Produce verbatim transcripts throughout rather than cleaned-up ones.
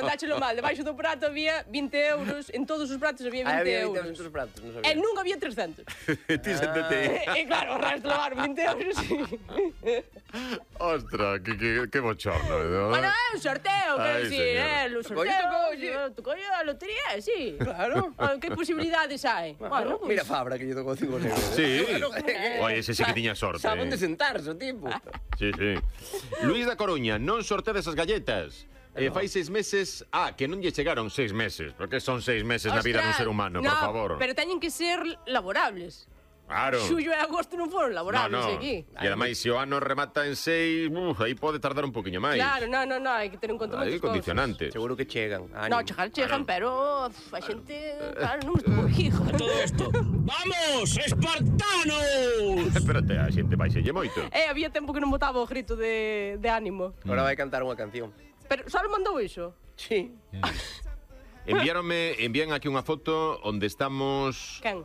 contáchelo mal. Debaixo do prato había vinte euros. En todos os pratos había vinte euros. En todos os pratos, non sabía. E nunca había trescentos. Ti séntate. E claro, o resto levaron vinte euros. Ostras, que, que, que bochorno. ¿No? Bueno, é un sorteo, quero Ai, dicir, señor. eh, o sorteo. Tocou a lotería, sí. Claro. Que posibilidades hai? Bueno, pues... Mira Fabra, que lle tocou cinco euros. Sí. Oye, ese sí que tiña sorte. Saben de sentarse, o tipo. Sí, sí. Luís da Coruña, non sortedes as galletas. Eh, fai seis meses... Ah, que non lle chegaron seis meses. Porque son seis meses na vida dun ser humano, no, por favor. Pero teñen que ser laborables. Claro. Xullo e agosto non foron laborables no, no. aquí. E ademais, se o ano remata en seis, uf, aí pode tardar un poquinho máis. Claro, no, no, no, hai que ter en conta Hai moitas condicionantes. Seguro que chegan. No, chegar chegan, pero uf, a xente, claro, non estuvo hijo. Todo esto. ¡Vamos, espartanos! Espérate, a xente vai selle moito. Eh, había tempo que non botaba o grito de, de ánimo. Ahora vai cantar unha canción. Pero só mandou iso? Sí. Enviáronme, envían aquí unha foto onde estamos... Quen?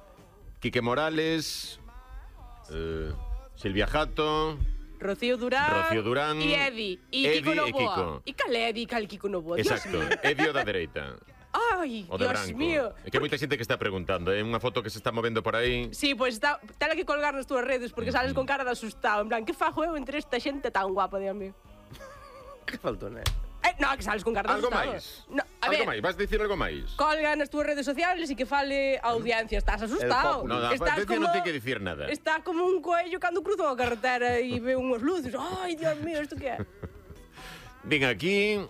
Quique Morales, eh, Silvia Jato... Rocío Durán, Rocío Durán e Edi, e Edi Kiko e Novoa. Kiko. E cal é Edi e cal Kiko Novoa? Exacto, Edio da dereita. Ai, O de Dios branco. mío. É que hai moita xente que está preguntando, é unha foto que se está movendo por aí. Sí, pois pues está, tela que colgar nas túas redes porque sales con cara de asustado. En plan, que fajo eu entre esta xente tan guapa, Dios mío? Que faltou, né? Eh, no, que sales con cara de Algo asustado. máis? No, a Algo ver, máis? Vas dicir algo máis? colga nas túas redes sociales e que fale a audiencia. Estás asustado. No, no, Estás Pepe non ten que dicir nada. Está como un coello cando cruza a carretera e ve unhas luces. Ai, Dios mío, isto que é? Ven aquí...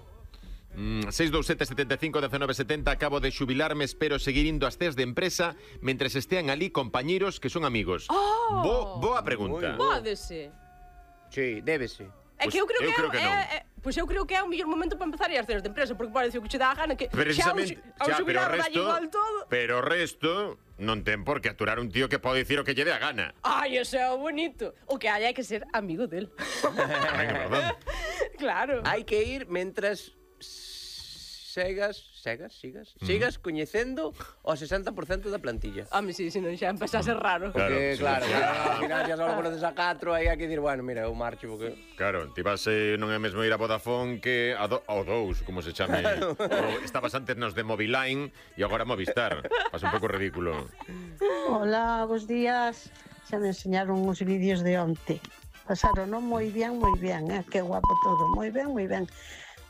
Mm, seis dous sete, sete cinco, uno nove sete cero. Acabo de xubilarme, espero seguir indo ás ceas de empresa mentres estean ali compañeiros que son amigos. Oh. Bo, boa pregunta. Pódese. Sí, débese. É Pois que eu creo eu que, creo é, que non. é, é, pois eu creo que é o mellor momento para empezar a ir ás cenas de empresa, porque parece que che dá a gana que Precisamente, xa, ao xa, pero o xubilar dalle resto, igual todo. pero o resto non ten por que aturar un tío que pode dicir o que lle dé a gana. Ai, eso é o bonito. O que hai é que ser amigo del. Tamén é verdade. Claro. Hai que ir mentras segas, segas, sigas, sigas coñecendo o sesenta por cento da plantilla. Home, si, si non xa empeza a ser raro. Claro, Porque, sí, claro, sí. claro, al final xa só conoces a catro, aí hai que dir, bueno, mira, eu marcho porque... Claro, ti vas eh, non é mesmo ir a Vodafone que a do, ao dous, como se chame. O, estabas antes nos de Moviline e agora Movistar. Pasa un pouco ridículo. Hola, bos días. Xa me enseñaron uns vídeos de onte. Pasaron non moi ben, moi ben, eh? Que guapo todo, moi ben, moi ben.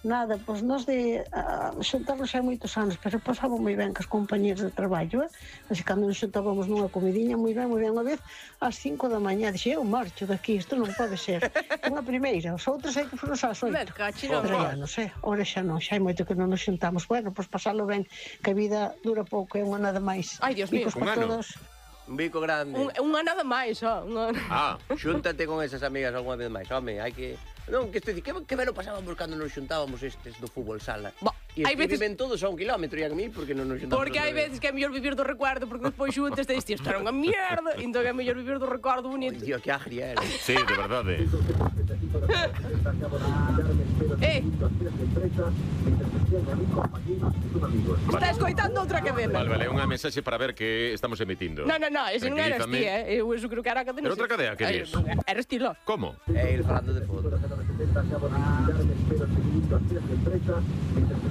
Nada, pois nós de uh, xuntarnos hai moitos anos, pero pasamos moi ben cos compañeros de traballo, eh? Así cando nos xuntábamos nunha comidiña, moi ben, moi ben, unha vez ás cinco da mañá, dixe, eu marcho daqui, isto non pode ser. Unha primeira, os outros hai que foron ás oito. Me cachino, Pero ya non sei, ora xa non, xa hai moito que non nos xuntamos. Bueno, pois pasalo ben, que a vida dura pouco, é unha nada máis. Ai, Dios mío. Bicos Un para ano. todos. Un bico grande. Un, unha nada máis, ó. Unha... Ah, Xúntate con esas amigas algunha vez máis, home, hai que... Non, que este di, que, que ben o pasábamos cando nos xuntábamos estes do fútbol sala. Bo, E hai veces- viven todos a un kilómetro e a mí porque non nos xuntamos. Porque hai outra vez. veces que é mellor vivir do recuerdo, porque despois xuntes te diste, isto era unha mierda, entón é mellor vivir do recuerdo bonito. Ai, tío, que agria era. sí, de verdade. Eh, está escoitando outra cadena. Vale, vale, unha mensaxe para ver que estamos emitindo. No, no, no, ese non eras ti, Tranquilízame. eh? Eu eso creo que era a cadena. Pero outra cadea, que Ai, dis? Eres ti, lo. Como? E ir falando de fútbol.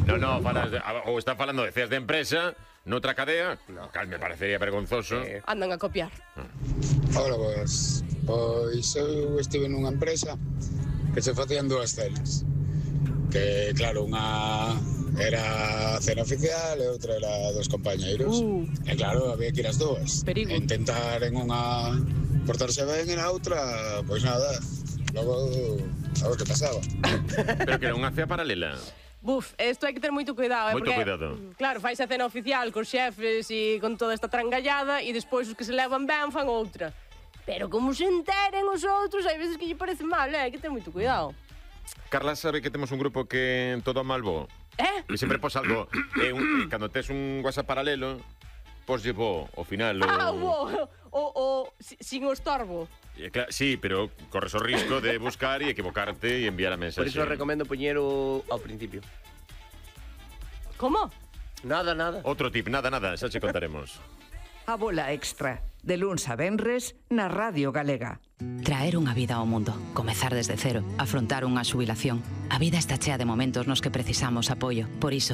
No, no, falas de, ou está falando de ceas de empresa noutra cadea. No, cal me parecería vergonzoso. Eh, Andan a copiar. Ora, pois, pois eu estive nunha empresa que se facían dúas cenas. Que, claro, unha era a cena oficial e outra era dos compañeiros. Uh. E, claro, había que ir as dúas. Perigo. E intentar en unha portarse ben e na outra, pois nada, logo a ver que pasaba. Pero que era unha cea paralela. Buf, isto hai que ter moito cuidado, eh? Moito porque, cuidado. Claro, fais a cena oficial cos xefes e con toda esta trangallada e despois os que se levan ben fan outra. Pero como se enteren os outros, hai veces que lle parece mal, eh? Hai que ter moito cuidado. Carla sabe que temos un grupo que todo mal bo. Eh? E sempre pos algo. E un, e cando tes un WhatsApp paralelo, pos llevo ao final. O... Ah, o, o, o, si- sin o estorbo. E, claro, sí, pero corres o risco de buscar e equivocarte e enviar a por mensaxe. iso recomendo poñer o ao principio. Como? Nada, nada. Outro tip, nada, nada, xa che contaremos. A bola extra, de luns a venres, na Radio Galega. Traer unha vida ao mundo, comezar desde cero, afrontar unha xubilación. A vida está chea de momentos nos que precisamos apoio. Por iso,